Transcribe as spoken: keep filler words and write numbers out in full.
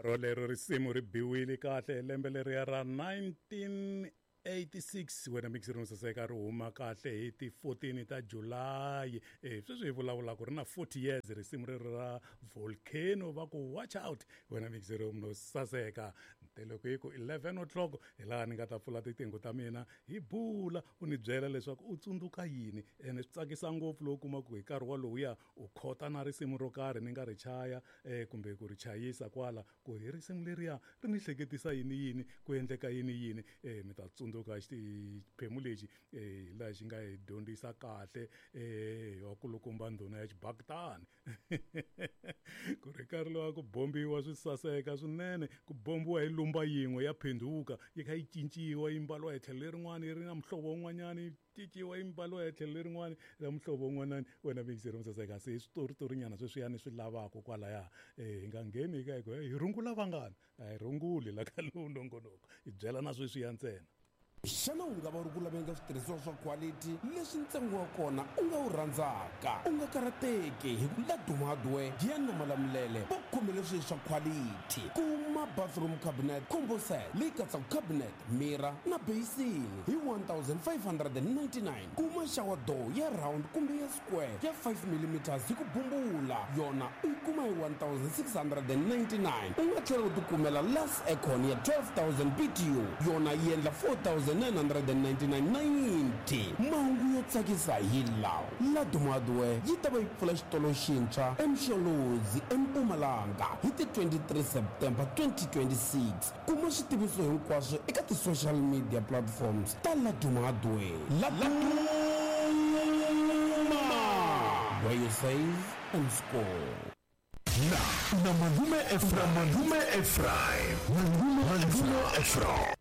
Rolero risimu ri biwile kahle lembe leriya ra nineteen eighty-six wena mixer no saseka ri huma kahle hi ti fourteen ta July. Eh sweswi hi vulavula ku ri na forty years risimu rero ra Volcano va ku watch out wena mixer no saseka. Loko hi ku eleven o'clock hi laha ni nga ta pfula titingo ta mina hi bula u ni byela leswaku u tsundzuka yini ene swi tsakisa ngopfu loko kuma ku hi nkarhi walowuya u khota na risimu ro karhi ni nga ri chaya eh kumbe ku ri chayisa kwala ku hi risimu leriya ri ni hleketisa yini yini ku endleka yini yini eh mi ta tsundzuka xiphemu lexi eh laha xi nga hi dyondzisa kahle eh wa kulukumba ndhuna ya xibakitani ku ri nkarhi lowa ku bombiwa swi saseka swinene ku bombiwa hi lumba yin'we ya phenduka yi kha yi cinciwa yi mbaliwa hi tlhelo lerin'wana yi ri na muhlovo wun'wanyana yi cinciwa yi mbaliwa hi tlhelo lerin'wana ra muhlovo wun'wanyana wena mixer musaseka se switoritorinyana sweswiyani swi lavaka kwalaya eh hi nga ngheni ka hi hi rungula vangani a hi runguli la ka lowu nongonoko hi byela na sweswiya ntsena. Xana u nga va u ri ku laveni ka switirhisiwa swa quality leswi ntsengo wa kona u nga wu rhandzaka? U nga karhateki hi ku Laduma Hardware Giyani na Malamulele va khomele swilo swa quality. Kuma bathroom cabinet combo set leyi katsaka cabinet, mirror na basin hi one thousand five hundred and ninety-nine. Kuma shower door ya round kumbe ya square ya five millimeters hi ku bumbula yona u yi kuma hi one thousand six hundred and ninety-nine. U nga tlhela u tikumela last aircon ya twelve thousand B T U yona yi endla four thousand nine hundred and ninety-nine ninety. Mahungu yo tsakisa hi lawa: Laduma Hardware yi ta va yi pfula xitolo xintshwa eMsholozi eMpumalanga hi ti twenty-three September twenty twenty-six. Kuma switiviso hinkwaswo eka ti-social media platforms ta Laduma Hardware. Laduma, where you save and score. Na, na Malume Ephraim, Malume Ephraim, Malume Ephraim.